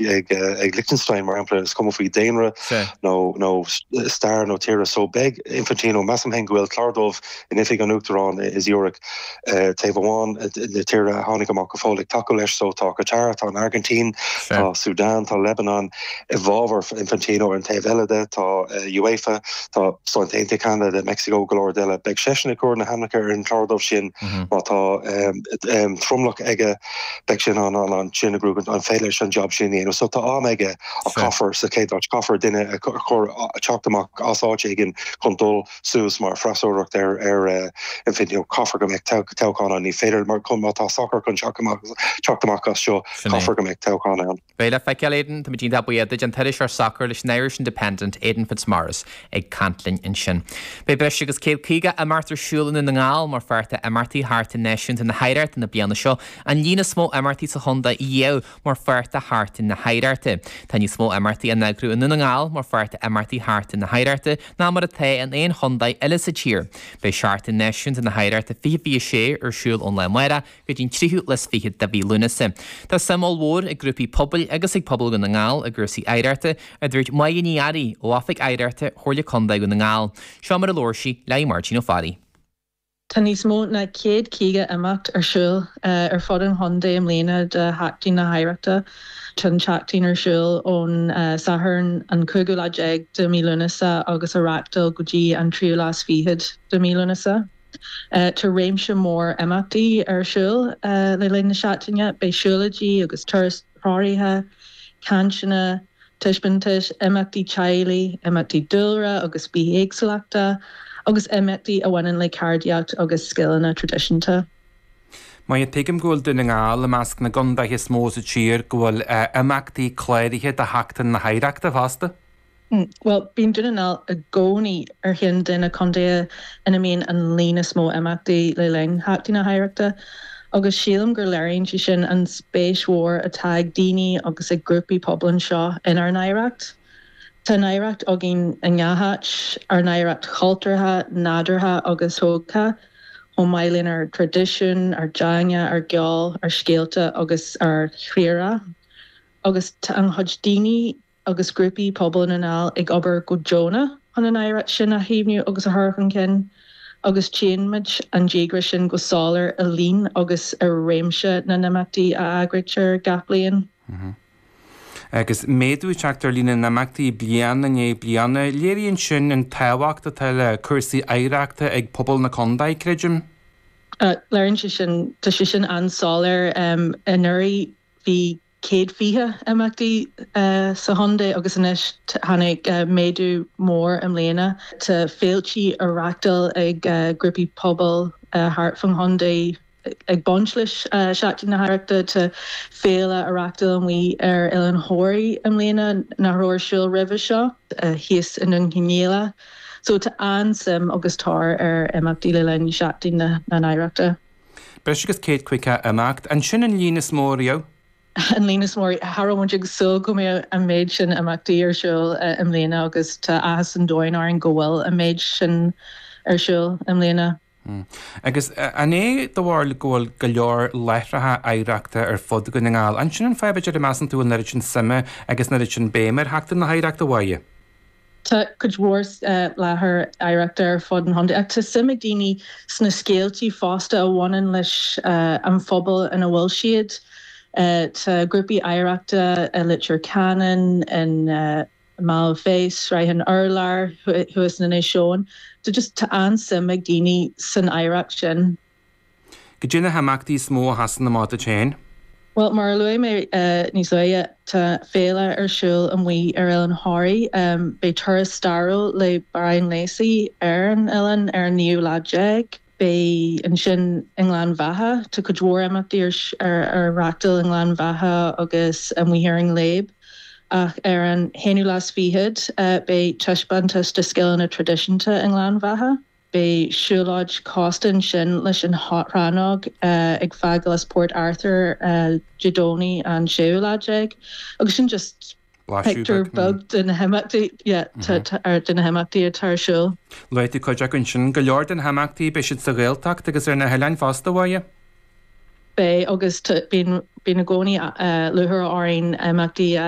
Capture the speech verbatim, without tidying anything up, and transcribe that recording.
ag ag Liechtenstein mar shampla is cuma faoi daonra nó nó stair nó tíre so beidh Infantino measaim féin go bhfuil clár dubh in oifig an Uachtaráin i Zurich taobh amháin na tíortha a tháinig amach go fóill ag tacú leis so tá Qatar tá an Argentina tá Sudan tá Lebanon i bhfabhar Infantino ar an taobh eile de tá UEFA tá Stáit Aontaithe Canada Mexico go leor eile beidh seisean ag cur na hainmneacha ar an chlár dubh sin má tá tromlach aige beidh sin an an an sin a grú an féidir leis an job sin a dhéanamh so tá am aige a caithfear sa chéad áit caithfear duine a chur teacht amach as áit éigin chun dul suas mar freasúracht ar ar Infantino caithfear go mbeidh toghchán ann ní féidir mar chun má tá sacar chun teacht amach as seo caithfear go mbeidh toghchán ann. Beidh le feiceáil Aidan tá muid buíoch duit an t-iriseoir sacair leis an Irish Independent Aidan Fitzmaurice ag caint linn ansin. Beidh breis agus céad caoga imeacht ar siúl i nDún na nGall mar pháirt d'imeachtaí Sheachtain Náisiúnta na hOidhreachta na bliana seo an líon is mó imeachtaí sa chontae riamh mar pháirt de Sheachtain na hOidhreachta. Tá níos mó imeachtaí á n-eagrú i nDún na nGall mar pháirt d'imeachtaí Sheachtain na hOidhreachta ná mar atá in aon chontae eile sa tír. Beidh Seachtain Náisiúnta na hOidhreachta fiche fiche sé ar siúl ón lá amárach go dtí an tríú lá is fiche de mhí Lúnasa. Tá suim ollmhór ag grúpaí pobail agus ag pobal Dhún na nGall i gcúrsaí oidhreachta a dúirt Máire Ní Fhearraigh ó Oifig Oidhreachta Chomhairle Contae Dhún na nGall. Seo mar a labhair sí le Máirtín Ó Fearraigh. Tá níos mó ná céad caoga imeacht ar siúl ar fud an chontae i mbliana de Sheachtain na hOidhreachta. Tá an tseachtain ar siúl ón Satharn an cúigiú lá déag de mhí Lúnasa agus á reáchtáil go dtí an tríú lá is fichead de mhí Lúnasa. Tá réimse mór imeachtaí ar siúl le linn na seachtaine, beidh siúlóidí agus turais threoraithe, cainteanna, taispeántais, imeachtaí teaghlaigh, imeachtaí dúlra agus bithéagsúlachta, agus imeachtaí a bhaineann le ceardaíocht agus scileanna traidisiúnta. Maith tuigim go bhfuil Dún na nGall i measc na gcontaetha is mó sa tír go bhfuil imeachtaí cláraithe do Sheachtain na hOidhreachta fosta. Well, bíonn Dún na nGall i gcónaí ar cheann de na contaetha ina mbíonn an líon is mó imeachtaí le linn Sheachtain na hOidhreachta, agus sílim gur léiríonn sé sin an spéis mhór atá ag daoine agus ag grúpaí pobail anseo inár n-oidhreacht. Tá an oidhreacht againn i ngach áit, ár n-oidhreacht chultúrtha, nádúrtha agus thógtha, chomh maith lenár dtraidisiún, ár dteanga, ár gceol, ár scéalta agus ár dtírdhreach. Agus tá an-chuid daoine agus grúpaí pobail na nGall ag obair go deonach chun an oidhreacht sin a chaomhnú agus a chur chun cinn, agus tchíonn muid an díograis sin go soiléir i líon agus i réimse na n-imeachtaí a eagraítear gach bliain. Agus méadú ag teacht ar líon na n-imeachtaí bliain i ndiaidh bliana, léiríonn sin an tábhacht atá le cúrsaí oidhreachta ag pobal na contae, creidim. Léiríonn sé sin, tá sé sin an-soiléir. Anuraidh bhí céad fiche imeachtaí sa chontae agus anois tháinig méadú mór i mbliana. Tá féiltí á reáchtáil ag grúpaí pobail thart fán chontae ag baint leis Seachtain na hOidhreachta. Tá féile á reáchtáil amuigh ar Oileán Thoraí i mbliana nach raibh ar siúl roimhe seo thíos i nDún Cionnaola. So tá an-suim agus tóir ar imeachtaí le linn Seachtain na nOidhreachta. Breis agus céad caoga imeacht. An sin an líon is mó riamh? An líon is mó cha raibh muid ag súil go mbeadh an méid sin imeachtaí ar siúl i mbliana agus tá áthas an domhain orainn go bhfuil an méid sin ar siúl i mbliana. Agus an é do bharúil go bhfuil go leor láithreacha oidhreachta ar fud Dhún na nGall? An sin an fáth b'fhéidir a measann tú an oiread sin suime agus an oiread sin béime ar Sheachtain na hOidhreachta, a Mháire? Tá cuid mhór láthair oidhreachta ar fud an chontae ach tá suim ag daoine sna scéaltaí fosta a bhaineann leis an phobal ina bhfuil siad. Tá grúpaí oidhreachta i Leitir Ceanainn, in Mala Féis, Sraith an Urláir, thuas in Inis Eoghain. Tá just tá an-suim ag daoine san oidhreacht sin. Cad é na himeachtaí is mó a sheasann amach duit féin? Bhuel, mar a luaigh mé níos luaithe, tá féile ar siúl amuigh ar Oileán Thoraí. Beidh turas stairiúil le Brian Lacey ar an oileán ar an naoú lá déag. Beidh ansin i nGleann Bheatha. Tá cuid mhór imeachtaí ar ar reáchtáil i nGleann Bheatha agus amuigh ar an nGléib. Ach ar an haonú lá is fichead, beidh taispeántas de scileanna traidisiúnta i nGleann Bheatha. Beidh siúlóid cósta ansin leis an rannóg ag fágáil as Port Arthur Dé Domhnaigh an séú lá déag agus sin just pictiúr beag de na himeachtaí de na himeachtaí atá ar siúl. Luaigh tú cuid acu ansin, go leor de na himeachtaí beidh siad sa Ghaeltacht agus ar na hoileáin fosta, a Mháire? Beidh agus bíonn bíonn i gcónaí lúcháir orainn imeachtaí a